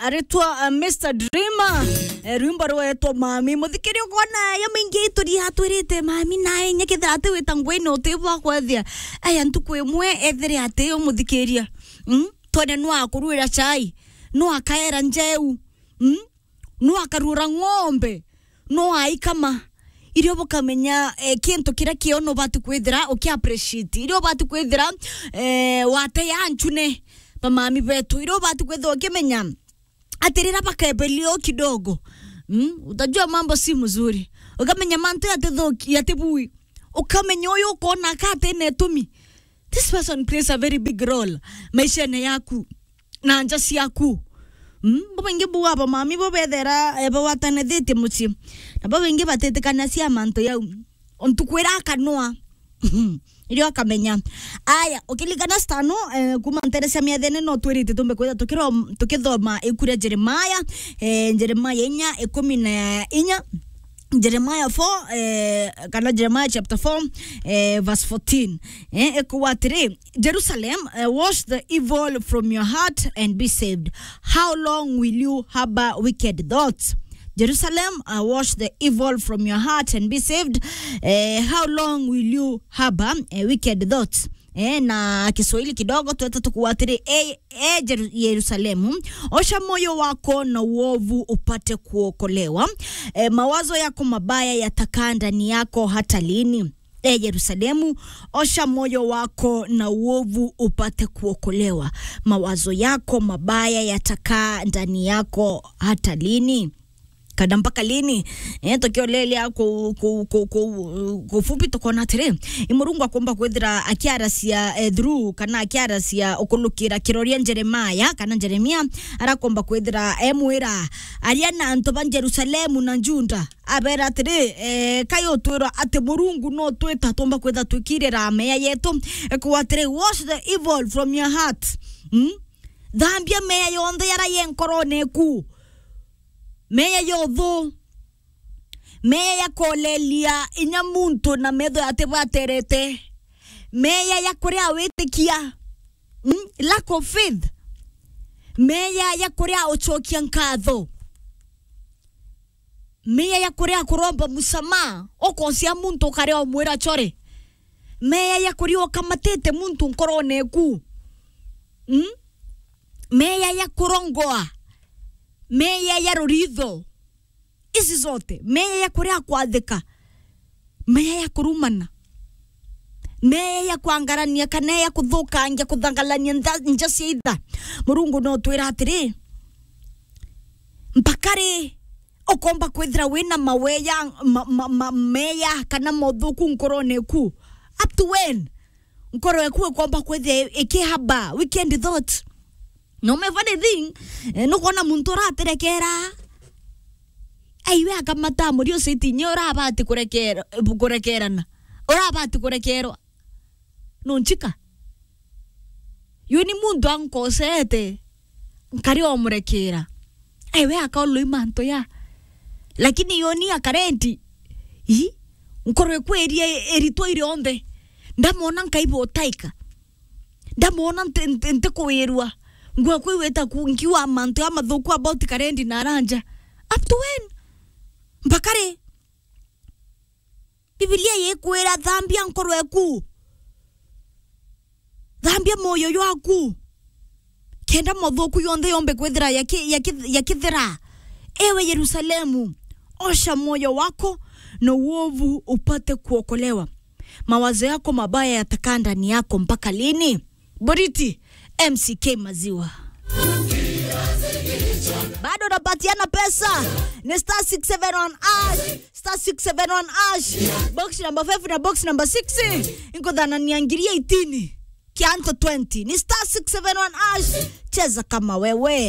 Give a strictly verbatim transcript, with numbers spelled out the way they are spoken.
aritwa, uh, Mister Dreamer. Eh, rwimbo rwetwa Mami. Muthikiria ukona ya mingi ituri atwirite mami na inya kethira ati wita ngwini uti bwa kwethia. Aya ntuku imwe ethire ati umuthikiria. Mm? Twene nwa kurwira chai. Nwa kaera njeu. Mm? Nwa karura ng'ombe. Nwa aikama. Irio bukamenya, eh, kintu kiria kio nubati kwithira uki appreciate. Irio ubati kwithira, eh, wate ya nchune. Bamami betu. Irio ubati kwithira ukimenya. Ati rira bakebelio kidogo, mm, utajua mambo si mzuri. Ukamenya mantu yatithuki, yatibui. Ukamenya uyu ukona ka atine itumi. This person plays a very big role maishene yaku na nja ciaku. Mm, bo baingi bu aba mami bo bethera, eh, bawatanithitie mucii. Na bo baingi batitikanagia mantu yau. Untu kwira akanwa. Irio akamenya. Aya, ukilikana stano, eh, kuma ntere cia miathene no twirite tumbe kwitha tukiro-, tukithoma iku ria Jeremiah, eh, Jeremiah inya, ikumi na inya, Jeremiah four, eh, kana Jeremiah chapter four, eh, verse fourteen. Eh, ikuwa atiri, "Jerusalem, eh, wash the evil from your heart and be saved. How long will you harbor wicked thoughts?" Jerusalem, uh, wash the evil from your heart and be saved. Eh, how long will you harbor, eh, wicked thoughts? Eh, na Kiswahili kidogo, tweta tukuwa atiri, "E, e Jeru-, Yerusalemu, osha moyo wako na uovu upate kuokolewa. Eh, mawazo yako mabaya yatakaa ndani yako hata lini? E Yerusalemu, osha moyo wako na uovu upate kuokolewa. Mawazo yako mabaya yatakaa ndani yako hata lini?" Kana mpaka lini? Eh, tukiolelia ku, ku, ku, ku, ku fupi tukona atiri, i Murungu akomba kwithira akiaracia, eh, through kana akiaracia ukulukira kiroria Jeremiah, kana Jeremia arakomba kwithira emwira aria na antu ba Jerusalemu na Juda. Abera atiri, eh, kai utwirwa ati Murungu no twita tumba kwitha twikirira meya yetu? Ekuwa atiri, "Wash the evil from your heart." Hmm? Thambia meya yonthe yara ye nkorone eku. Meya ya uthu. Meya ya kolelia inya muntu na metho yatibwaterete. Meya ya kuria witikia. Hmm? Lack of faith. Meya ya kuria uchokia nkatho. Meya ya kuria kuromba musamaha, ukosia muntu ukaria umwira chore. Meya ya kuria ukamatite muntu nkorone eku. Mm? Meya ya kurongoa. Meya ya ruritho. Ici zote. Meya ya kuria kwathika. Meya ya kurumana. Meya ya kwangarania kana ya kuthukangia, kuthangalania nja, nja cia itha. Murungu no twira atiri, mpaka ri ukomba kwithira wina maweya, ma, ma, ma, meya kana mothuku nkorone eku? Up to when? Nkoro eku ikomba kwithira ikihaba wicked thought? No, my funny thing, eh, nukwona muntu uratirekera. Aiwe akamata muri uciti nye urabati kurekera, kurekerana. Urabati kurekerwa. Nunchika. Yoni muntu ankosete, nkari omurekera. Aiwe akaoloi mantu ya. Lakini yoni akarendi. I? Nkoro ekweria eritwa irionthe. Ndamona nkaibo taika. Ndamwona nti-, nti-, ntikuwirua. Ngwe kwiwita ku-, nkiwa mantu ya mathuku about Karendi na Aranja. Up to when? Mpaka ri? Bibilia yikwira, "Thambia nkoro eku. Thambia moyo jwaku. Kenda mathuku yonthe yombe kwithira yaki-, yaki-, yakithira. Ewe Yerusalemu, osha moyo wako na uovu upate kuokolewa." Mawazo yako mabaya yatakaa ndani yako mpaka lini? Boriti, M C K Maziwa. Bado unapatiana pesa. Ni star six seven one hash, star six seven one hash. Box number five na box number six. Nkuthanania ngiri eighteen. Kianto twenty. Ni star six seven one hash. Cheza kama wewe.